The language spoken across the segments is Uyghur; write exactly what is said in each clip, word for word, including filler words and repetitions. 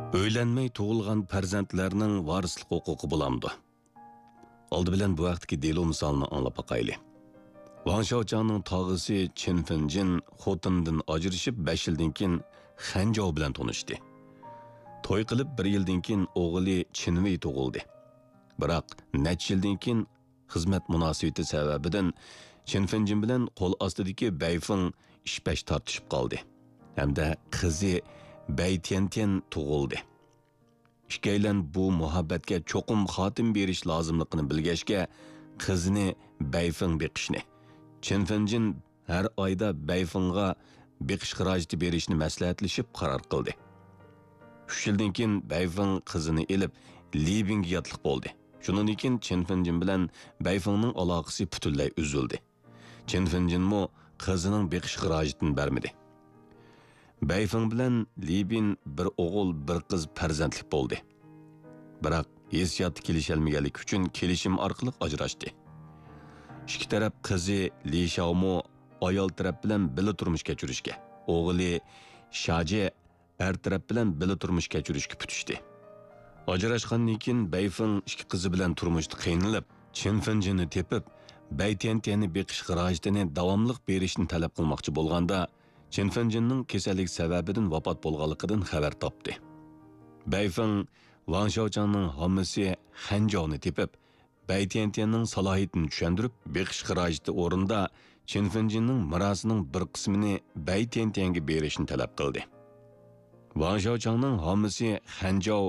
ئۆيلەنمەي تۇغۇلغان پەرزەنتلەرنىڭ ۋارىسلىق ھوقۇقى بولامدۇ؟ ئالدى بىلەن بۇ ھەقتىكى دېلو مىسالىنى ئاڭلاپ باقايلى. ۋاڭ شياۋچاڭنىڭ تاغىسى چىن فېنجىن خوتۇنىدىن ئاجرىشىپ، بەش يىلدىن كېيىن خەنجاۋ بىلەن تونۇشتى. توي قىلىپ بىر يىلدىن كېيىن ئوغلى چىن ۋېي تۇغۇلدى. بىراق نەچچە يىلدىن كېيىن خىزمەت مۇناسىۋىتى سەۋەبىدىن چىن فېنجىن بىلەن قول ئاستىدىكى بەيفېڭ ئىش-پەش تارتىشىپ قالدى ھەمدە قىزى بەي تيەنتيەن تۇغۇلدى. ئىككىيلەن بۇ مۇھەببەتكە چوقۇم خاتىمە بېرىش لازىملىقىنى بىلگەچكە، قىزىنى بەيفېڭ بېقىشنى، چىن فېنجىن ھەر ئايدا بەيفېڭغا بېقىش خىراجىتى بېرىشنى مەسلىھەتلىشىپ قارار قىلدى. ئۈچ يىلدىن كېيىن بەيفېڭ قىزىنى ئېلىپ، لى بىڭگە ياتلىق بولدى. شۇنىڭدىن كېيىن چىن فېنجىن بىلەن بەيفېڭنىڭ ئالاقىسى پۈتۈنلەي ئۈزۈلدى. چىن فېنجىنمۇ قىزىنىڭ بېقىش خىراجىتىنى بەرمىدى. بەيفېڭ بىلەن لى بىن بىر ئوغۇل، بىر قىز پەرزەنتلىك بولدى. بىراق ھېسسىياتتا كېلىشەلمىگەنلىكى ئۈچۈن كېلىشىم ئارقىلىق ئاجراشتى. ئىككى تەرەپ قىزى لى شاۋمۇ ئايال تەرەپ بىلەن بىللە تۇرمۇش كەچۈرۈشكە، ئوغلى شاجې ئەر تەرەپ بىلەن بىللە تۇرمۇش كەچۈرۈشكە پۈتۈشتى. ئاجراشقاندىن كېيىن بەيفېڭ ئىككى قىزى بىلەن تۇرمۇشتا قىينىلىپ، چىن فېنجىننى تېپىپ، بەي تيەنتيەننى بېقىش خىراجىتىنى داۋاملىق بېرىشنى تەلەپ قىلماقچى بولغاندا، چىن فېنجىننىڭ كېسەللىك سەۋەبىدىن ۋاپات بولغانلىقىدىن خەۋەر تاپتى. بەيفېڭ ۋاڭ شياۋچاڭنىڭ ھاممىسى خەنجاۋنى تېپىپ، بەي تيەنتيەننىڭ سالاھىيىتىنى چۈشەندۈرۈپ، بېقىش خىراجىتى ئورنىدا چىن فېنجىننىڭ مىراسىنىڭ بىر قىسمىنى بەي تيەنتيەنگە بېرىشنى تەلەپ قىلدى. ۋاڭ شياۋچاڭنىڭ ھاممىسى خەنجاۋ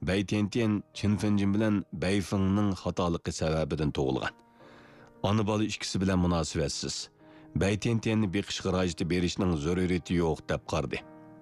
بەي تيەنتيەن چىن فېنجىن بىلەن بەيفېڭنىڭ خاتالىقى سەۋەبىدىن تۇغۇلغان. ئانا-بالا ئىككىسى بىلەن مۇناسىۋەتسىز. بەي تيەنتيەننى بېقىش خىراجىتى بېرىشنىڭ زۆرۈرىيىتى يوق، دەپ قارىدى.